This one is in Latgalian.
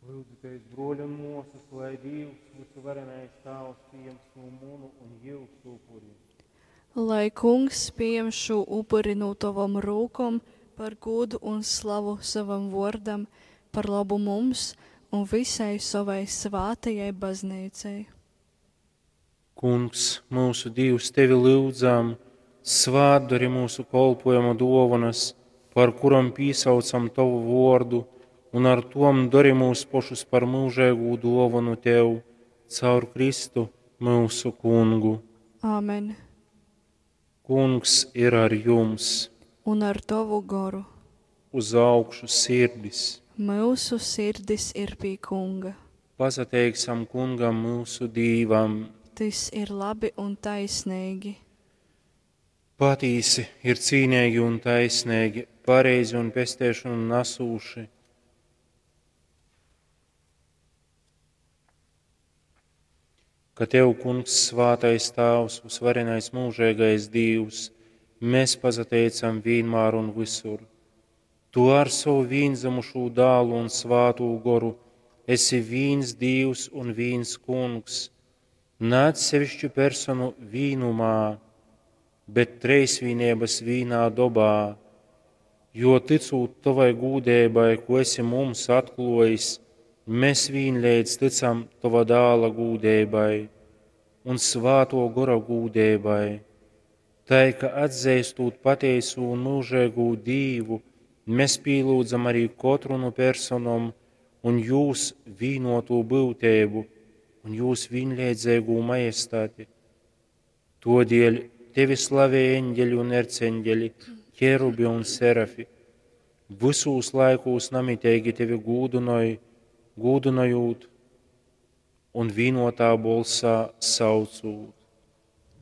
Lyudzitēs, bruoļi un muosys, lai Dīvs, vysuvarenais Tāvs, pījam šū munu un jyusu upuri. Lai Kungs pījam šū upuri nu tovom rūkom par gūdu un slavu sovam vuordam, par lobu mums un vysai sovai svātajai Bazneicai. Kungs, myusu Dīvs, tevi lyudzam, svātdori myusu kolpuojuma duovonys, par kurom pīsaucam tovu vuordu, un ar tom dori myus pošus par myužeigū duovonu tev, caur Kristu, myusu Kungu. Āmen. Kungs ir ar jums! Un ar tovu goru. Uz augšu sirdis! Myusu sirdis ir pie Kunga. Pasateiksim Kungam, myusu Dīvam! Tys ir labi un taisneigi. Patīsi ir cīneigi un taisneigi, pareizi un pesteišonu nasūši. Ka tev, Kungs, svātais Tāvs, vysvarenais mūžīgais Dīvs, mēs pasateicam vienmēr un visur. Tu ar savu vīnzemušū dālu un svātū goru esi vīns Dīvs un vīns Kungs, ne atsevišķu personu vīnumā, bet treisvīnības vīnā dobā, jo ticūt tovai gūdībai, ko esi mums atklājis, mēs vienleidz ticam tova dāla gūdībai un svāto gora gūdībai. Tai, ka atzīstot patieso un mūžīgo Dīvu, mēs pielūdzam arī katru no personom un jūs vienoto būtību un jūs vienleidzīgo majestāti. Todēļ tevi slavē eņģeļi un erceņģeļi, ķerubi un serafi. Visūs laikūs namitīgi tevi gūdinoj, gūdinojot un vienotā bolsā saucot.